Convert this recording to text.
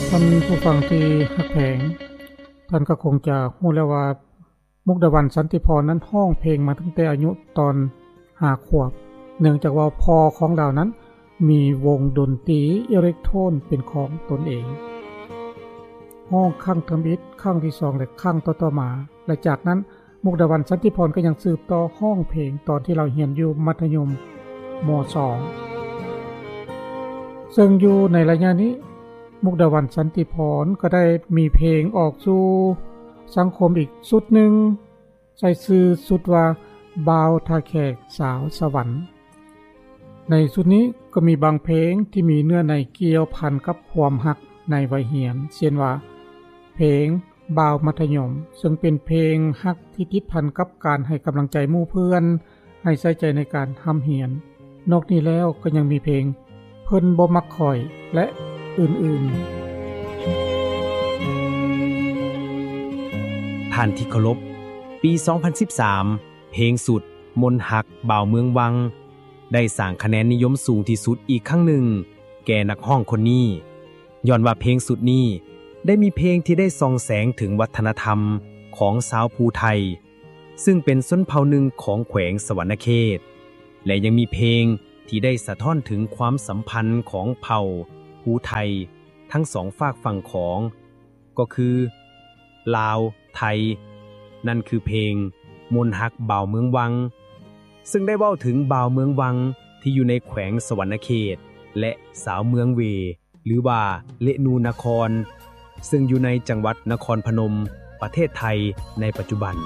ທ່ານຜູ້ຟັງທີ່ຮັກແພງ, ທ່ານກໍຄົງຈະຮູ້ແລ້ວວ່າ ມຸກດາວັນ ສັນຕິພອນ ນັ້ນຮ້ອງເພງມາຕັ້ງແຕ່ອາຍຸຕອນຫ້າຂວບ, ເນື່ອງຈາກວ່າພໍ່ຂອງລາວນັ້ນມີວົງດົນຕີເອເລັກໂທນເປັນຂອງຕົນເອງ. ຮ້ອງຄັ້ງທຳອິດ, ຄັ້ງທີສອງ ແລະ ຄັ້ງຕໍ່ໆມາ, ແລະ ຈາກນັ້ນ ມຸກດາວັນ ສັນຕິພອນ ກໍຍັງສືບຕໍ່ຮ້ອງເພງຕອນທີ່ລາວຮຽນຢູ່ມັດທະຍົມ ມ.ສອງ ເຊິ່ງຢູ່ໃນໄລຍະນີ້ ມຸກດາວັນ ສັນຕິພອນ ກໍໄດ້ມີເພງອອກສູ່ສັງຄົມອີກຊຸດໜຶ່ງ ໃສ່ຊື່ຊຸດວ່າ ບ່າວທ່າແຂກສາວສະຫວັນ. ໃນຊຸດນີ້ກໍມີບາງເພງທີ່ມີເນື້ອໃນກ່ຽວພັນກັບຄວາມຮັກໃນໄວຮຽນ ເຊັ່ນວ່າ ເພງບ່າວມັດທະຍົມ ເຊິ່ງເປັນເພງຮັກທີ່ຕິດພັນກັບການໃຫ້ກຳລັງໃຈໝູ່ເພື່ອນ, ໃຫ້ໃສ່ໃຈໃນການຮ່ຳຮຽນ. ນອກນີ້ແລ້ວກໍຍັງມີເພງ ເພິ່ນບໍ່ມັກຂ້ອຍ ແລະ ອື່ນໆ. ທ່ານທີ່ເຄົາລົບ, ປີສອງພັນສິບສາມ ເພງຊຸດ ມົນຮັກບ່າວເມືອງວັງ ໄດ້ສ້າງຄະແນນນິຍົມສູງທີ່ສຸດອີກຄັ້ງໜຶ່ງແກ່ນັກຮ້ອງຄົນນີ້, ຍ້ອນວ່າເພງຊຸດນີ້ໄດ້ມີເພງທີ່ໄດ້ສ່ອງແສງເຖິງວັດທະນະທຳຂອງຊາວພູໄທ ເຊິ່ງເປັນຊົນເຜົ່າໜຶ່ງຂອງແຂວງສະຫວັນນະເຂດ ແລະ ຍັງມີເພງທີ່ໄດ້ສະທ້ອນເຖິງຄວາມສຳພັນຂອງເຜົ່າພູໄທທັງສອງຟາກຝັ່ງຂອງ ກໍຄື ລາວ ໄທ ນັ້ນຄືເພງ ມົນຮັກບ່າວເມືອງວັງ ເຊິ່ງໄດ້ເວົ້າເຖິງບ່າວເມືອງວັງທີ່ຢູ່ໃນແຂວງສະຫວັນນະເຂດ ແລະ ສາວເມືອງເວ ຫຼືວ່າ ເລະນູນະຄອນ ເຊິ່ງຢູ່ໃນຈັງຫວັດນະຄອນພະນົມ ປະເທດໄທໃນປັດຈຸບັນ.